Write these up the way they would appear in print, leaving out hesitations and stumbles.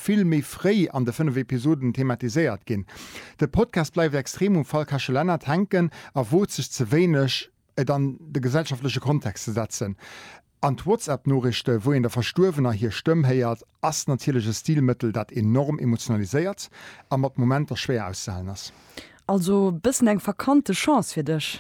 vill méi fréi an de 5 Episoden thematiséiert ginn. De Podcast bleift extrem um Fall Kasche Lennart hänken a wot sech ze wéineg, et an de gesellschaftleche Kontext ze setzen. An d'Whatsapp-Noriichte wou een der Verstuerwener hir Stëmm héiert, ass natierlech e Stilmëttel, dat enorm emotionaliséiert a mat Momenter schwéier auszehalen ass. Also bëssen eng verkannte Chance fir dech?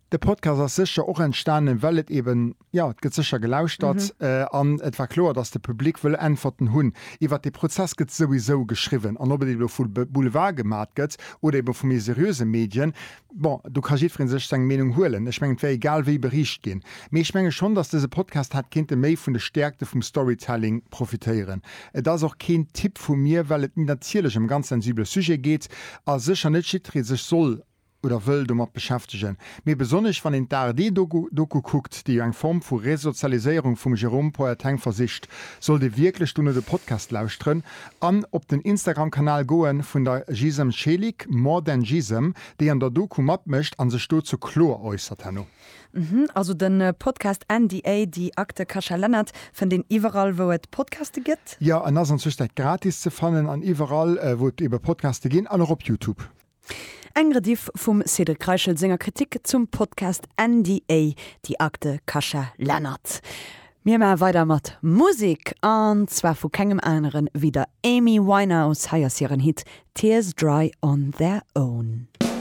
De Podcast ass sécher och entstanen, well et eben, jo, et gëtt sécher gelauschtert an et war kloer, datt de Public wëll Äntwerten hunn. Iwwert dee Prozess gëtt souwisou geschriwwen an ob et elo vu Boulevard gemat gëtt oder ebe vu méi seriöse Medien, bon, do ka jiddweree sech seng Meenung huelen. Ech mengen, et wär egal wéi beriicht ginn. Mee ech menge schonn, datt dëse Podcast hätt kéinte méi vun de Stäerkte vum Storytelling profitéieren. Et ass och keen Tipp vu mir, well et natierlech ëm e ganz sensibele Sujet geet a sécher net jiddweree sech soll oder wëll domat beschäftegen. Mee besonnesch wann een d'ARD-Doku kuckt, déi jo eng Form vu Resozialiséierung vum Jérôme Poerteng versicht, sollt ee wierklech dono de Podcast lauschteren an op den Instagram-Kanal goen vun der Gizem Celik, More than Gizem, déi an der Doku matmécht a sech dozou kloer äussert herno. Mhm, also den Podcast NDA, Die Akte Kascha Lennart fënnt een iwwerall wou et Podcaste gëtt? Jo, en ass an Zwëschenzäit gratis ze fannen an iwwerall wou et ebe Podcaste ginn an och op Youtube. Eng Rediff vum Cédric Reichel senger Kritik zum Podcast NDA, Die Akte Kascha Lennart. Mir maache weider mat Musek, an zwar vu kengem anere wéi der Amy Winehouse. Hei ass hiren Hit Tears Dry On Their Own.